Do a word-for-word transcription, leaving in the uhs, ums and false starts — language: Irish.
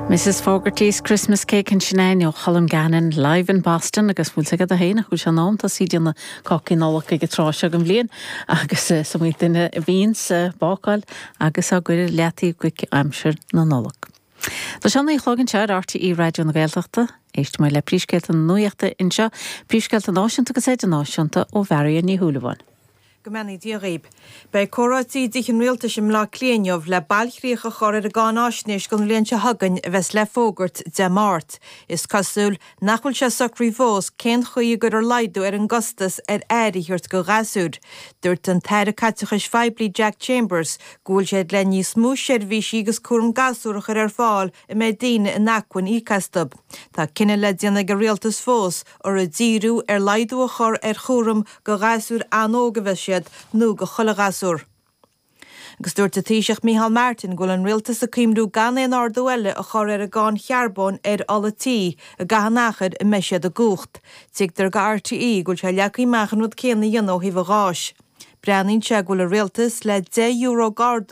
Mrs Fogarty's Christmas Cake ansin ó Colm Gannon live in Boston agus bhfuil sé a héana chuil se ná tá si déanamh cácaí Nollag ag an tráth seo den bhliain agus is iomaí duine a bhíonn ag bácáil agus á gcuir leataí go aimsir na Nollag. Tá sé a naoi a chlog anseo ar RTÉ Raidió na Gaeltachta, Éistfidh muid le príomhscéalta na nuachta anseo, príomhscéalta náisiúnta agus idirnáisiúnta ó Mharion Ní Shúilleabháin. Go mbeannaí Dia dhaoibh. Beidh comhráití i dTigh an Rialtais i mBleá Cliath inniu le bailchríoch a chur ar an gcáinaisnéis don bhliain seo chugainn a bheas le fógairt Dé Máirt. Is cosúil nach bhfuil sé socraithe fós cén chaoi a gcuirfear laghdú ar an gcostas ar aire a thabhairt do ghasúir. Dúirt an tAire Caiteachais Phoiblí Jack Chambers go bhfuil siad le níos mó seirbhísí agus cúram gasúr a chur ar fáil a mbeidh daoine in acmhainn íoc astu. Tá cinneadh le déanamh ag an rialtas fós ar a díriú ar laghdú a chur ar chúram do ghasúir an-óg a bheas siad nó do chuile ghasúr. Agus dúirt an Taoiseach Micheál Martin go bhfuil an rialtas ag cuimhniú gan aon ardú eile a chur ar an gcáin charbóin ar ola tí i gcaitheamh an achair a mbeidh siad i gcumhacht. Tuigtear do RTÉ go bhfuil sé leagtha amach an rud céanna a dhéanamh ó thaobh an gháis. Breathnaíonn sé go bhfuil an rialtas le deich euro d'ardú